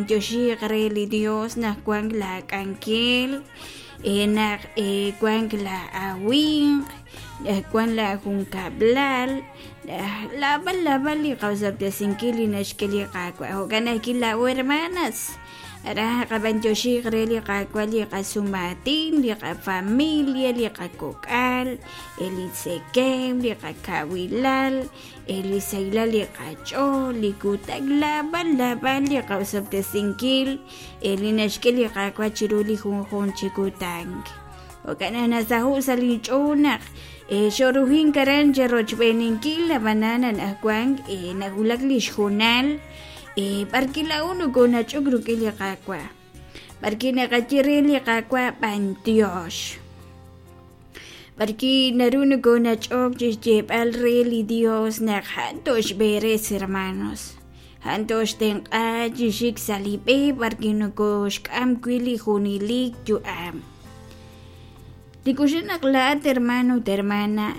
b'antioxiiq re li Dios naq wank laak'anjel, naq wank laa'awimq, naq wank laajunkab'lal, laab'al laab'al li qaosob'tesinkil li naxk'e li Qaawa'. Jo'kan ajwi' laa'o hermanas, raj qab'antioxiiq re li Qaawa' li qasumaatin, li qafamilia, li qakok'al, li tzekemq, li qakawilal, li sahilal li qach'ool, li kutan, laab'al laab'al li qaosob'tesinkil li naxk'e li Qaawa' chiru li junjunq chi kutan. Jo'kan naq nasaho' sa' linch'ool naq xoruhink aran cherochb'eeninkil, ab'anan anaqwan nawulak li xjunal b'ar wi' laa'o nokoonach'ok rik'in li Qaawa', b'ar wi' naqaye re li Qaawa' b'antiox, b'ar wi' naru nokoonach'ok chi xyeeb'al re li Dios naq a'an toxb'eres hermanos, a'an toxtenq'a chi xik sa' li b'e b'ar wi' nokoxk'am wi' li junelik yu'am. Li kuxin naq laa'at hermano ut hermana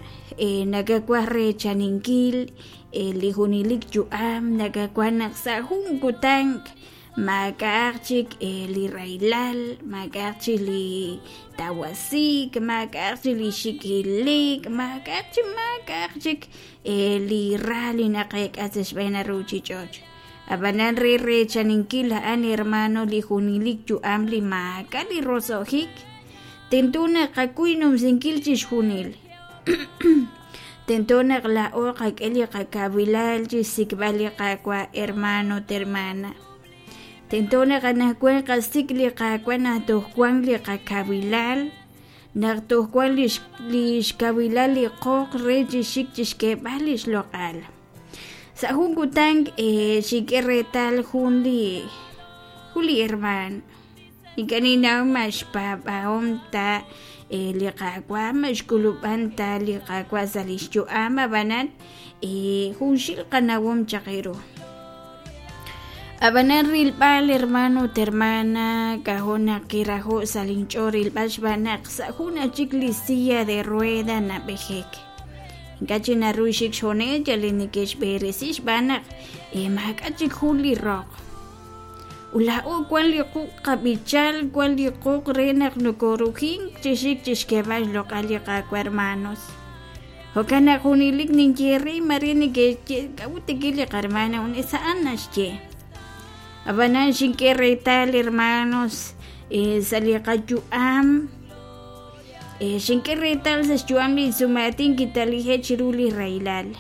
nakawaj reechaninkil li junelik yu'am, nakawaj naq sa' jun kutan maak'a'aq chik li rahilal, maak'a'aq chik li tawasiik, maak'a'aq chik li xikilik, maak'a'aq chik maak'a'aq chik li ra li naqeek'a sa' xb'een ruuchich'och'. Ab'anan re reechaninkil a'an hermano li junelik yu'am li maak'a' li roso'jik, tento naq qakuy numsinkil chixjunil. Tento naq laa'o qak'e li qakawilal chi xsik'b'al li Qaawa' hermano ut hermana. Tento naq anaqwan qasik' li Qaawa' naq toj wank li qakawilal, naq toj wank li xkawilal li qoq re chi xik chi xk'eeb'al li xloq'al. Sa' jun kutan xink'e reetal jun li hermaan ink'a' ninnaw ma xpaab'ahom ta li Qaawa', ma xk'ulub'an ta li Qaawa' sa' li xyu'am, ab'anan junxil qanawom chaq ru. Ab'anan rilb'al hermano ut hermana k'ajo' naq kiraho' sa' linch'ool rilb'al xb'aan naq sa' jun chik li silla de rueda nab'ejek. Ink'a' chik naru xik xjunes yal li neke'xb'eresi xb'aan naq maak'a' chik jun li roq. Ut laa'o wank li quq' qab'ichal, wank li quq' re naq nokorujink chi xik chi xk'eeb'al xloq'al li Qaawa' hermanos. Jo'kan naq junelik ninye re mare neke'xye k'a'ut tikil li qahermana junes a'an naxye. Ab'anan xink'e reetal hermanos sa' li qayu'am, xink'e reetal sa' xyu'am li sumaatin kitalije' chiru li rahilal.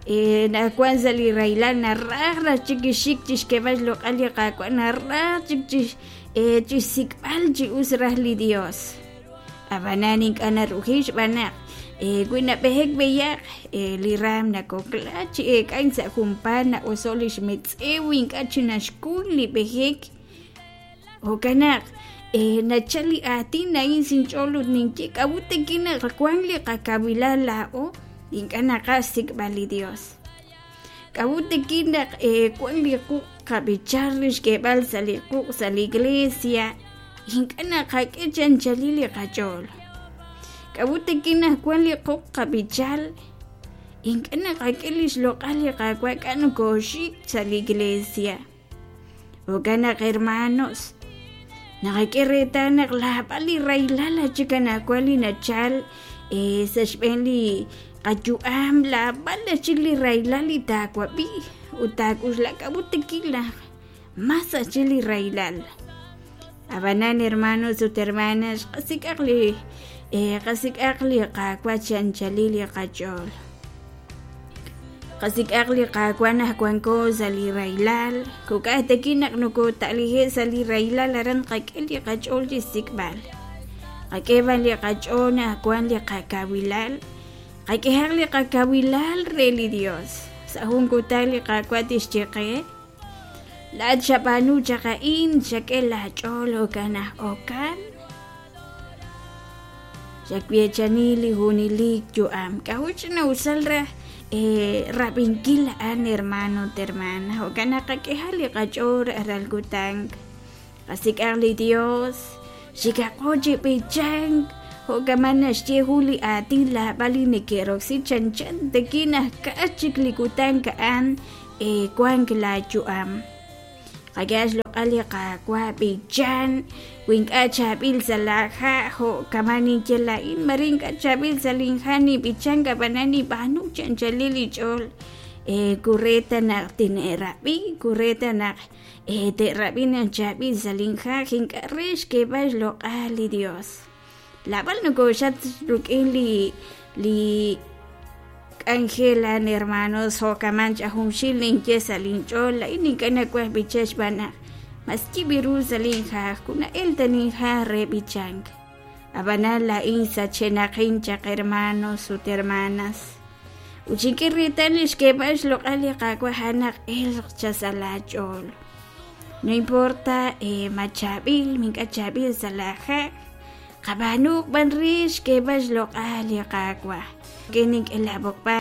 Naq wank sa' li rahilal naraj raj chik xik chi xk'eeb'al xloq'al li Qaawa', naraj chik chi xsik'b'al chi us raj li Dios. Ab'anan ink'a' naruhi xb'aan naq wi nab'ehek b'eyaq li raam nakokla chi eek'ank sa' junpaat na'oso' li xmetz'ew ink'a' chi naxkuy li b'ehek. Jo'kan naq nachal li aatin a'in sinch'ool ut ninye k'a'ut rik'in naq wank li qakawilal laa'o ink'a' naqaj xsik'b'al li Dios. K'a'ut rik'in naq wank li quq' qab'ichal re xk'eeb'al sa' li quq' sa' li iglesia ink'a' naqak'e chi anchalil li qach'ool. K'a'ut rik'in naq wank li quq' qab'ichal ink'a' naqak'e li xloq'al li Qaawa' k'a' nokooxik sa' li iglesia. Jo'kan naq hermanos, naqak'e reetal naq laab'al li rahilal chik anaqwan li nachal sa' xb'een li qayu'am, laab'al chik li rahilal li taawab'i ut taak'uxla k'a'ut tikil naq mas chik li rahilal. Ab'anan hermanos ut hermanas, qasik'aq li Qaawa' chi anchalil li qach'ool. Qasik'aq li Qaawa' naq wanko sa' li rahilal, kok'aj tekin naq nokota'lije' sa' li rahilal aran qak'e li qach'ool chi xsik'b'al. Qak'e b'an li qach'ool naq wank li qakawilal, qak'ehaq li qakawilal re li Dios. Sa' jun kutan li Qaawa' tixye qe, laa'at xab'aanu chaq a'in, xak'e laach'ool jo'kan naq okan. Xaweechani li junelik yu'am. K'a'ut ch'ina'usal raj rab'inkil a'an hermano ut hermana. Jo'kan naq qak'ehaq li qach'ool rajlal kutan. Qasik'aq li Dios, xikaqo chi b'ichank, jo'kaman naxye jun li aatin laab'al li neke'roksi chanchan tekin naq ka'aj chik li kutan a'an wank laayu'am. Qak'ehaq xloq'al li Qaawa', b'ichan, wi ink'a' chaab'il sa' laaha' jo' kama' ninye laa'in, mare ink'a' chaab'il sa' linha' ninb'ichank ab'anan ninb'aanu chi anchalil inch'ool ku re ta naq tine'rab'i, ku re ta naq te'rab'i naq chaab'il sa' linha' ink'a' re xk'eeb'al xloq'al li Dios. Laab'al nokooxat rik'in li li k'anjel a'an hermanos jo'kaman ch'ajunxil ninye sa' linch'ool laa'in ink'a' nawaj b'ichank xb'aan naq mas yib' ru sa' linja'aj kuna'el ta ninja'aj re b'ichank. Ab'anan laa'in sachenaqin chaq hermanos ut hermanas. Ut xink'e reetal li xk'eeb'al xloq'al li Qaawa' a'an naq elq cha sa' laach'ool. No importa ma chaab'il, ma ink'a' chaab'il sa' laaja'aj, qab'aanuuq b'an re xk'eeb'al xloq'al li Qaawa'. Nink'e laab'oqb'al.